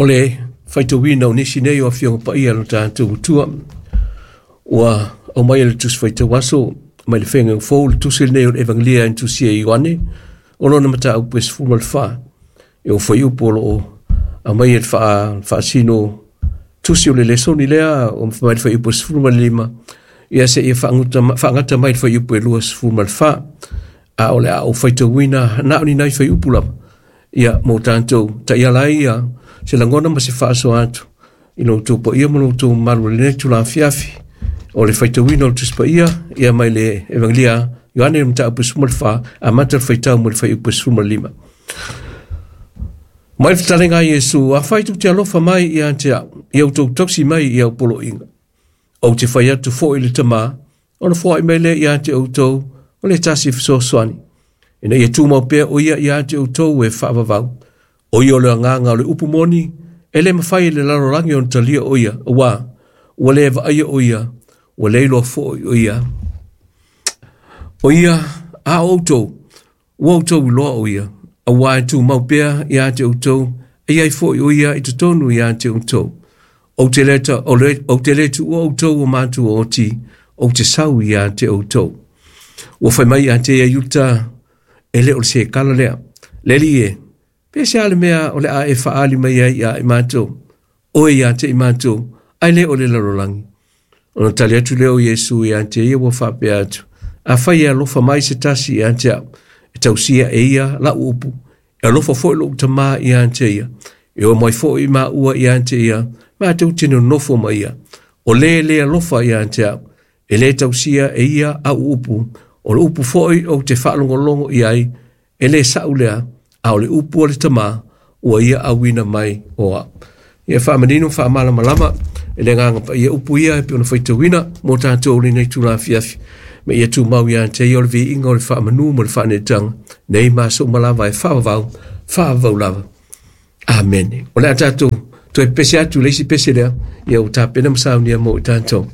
O le faitauina o nisi nei o Afioga Paia a lo tatou Atua, ua aumai e le Tusi Faitau Aso mai le Feagaiga Fou le tusi lenei o le Evagelia e tusia e Ioane, o lona mataupu e 14. E o fuaiupu o lo o aumai e le faasino tusi o le lesoni lea o mai le fuaiupu e 15, ia seia faagata mai le fuaiupu e 24. A o le a ou faitauina na o ni nai fuaiupu lava, ia mo tatou taiala ai ia se lagona ma se faasoa atu i lo outou paia ma lo outou mamalu i lenei itula afiafi. O le faitauina o le Tusi Paia ia mai le Evagelia Ioane le mataupu 14, amata le faitau mo le fuaiupu 15. Mai le fetalaiga a Iesu, afai tou te alofa mai ia te au, ia outou tausi mai i au poloaiga. Ou te fai atu foi i le Tama, ona foai mai lea ia te outou, o le tasi fesoasoani, ina ia tumau pea o ia ia te outou e faavavau. O ia o le agaga o le upu moni, e le mafai e le lalolagi ona talia o ia, auā, ua le vaaia o ia, ua le iloa foi o ia. O ia, a o outou, ua outou iloa o ia, auā e tumau pea ia te outou, e i ai foi o ia i totonu ia te outou. Ou te le, ta, o le, ou te le tuua outou o matua oti, ou te sau ia te outou. Ua fai mai ia te ia Iuta, e le o le sekala lea. Le Alii e, pe se a le mea o le a e faaali mai ai ia i matou, oe ia te i matou, ae le o le lalolagi. Ona tali atu lea o Iesu ia te ia ua faapea atu, afai e alofa mai se tasi ia te au, e tausia e ia lau upu, e alofa foi lou Tama ia te ia, e o mai foi maua ia te ia, matou te nonofo ma ia. O le le alofa ia te au, e le tausia e ia au upu, o le upu foi ou te faalogologo i ai, e le sa'u lea, a o le upu a le Tama, ua ia auina mai o au. Ia faamanino faamalamalama e le Agaga Paia upu ia e pei ona faitauina mo tatou lenei itula afiafi. Ma ia tumau ia te ia o le viiga o le faamanu ma le faaneetaga, nei ma aso uma lava e faavavau, faavavau lava. Amene. O le a tatou toe pese atu le isi pese lea, ia ua tapena ma saunia mo i tatou.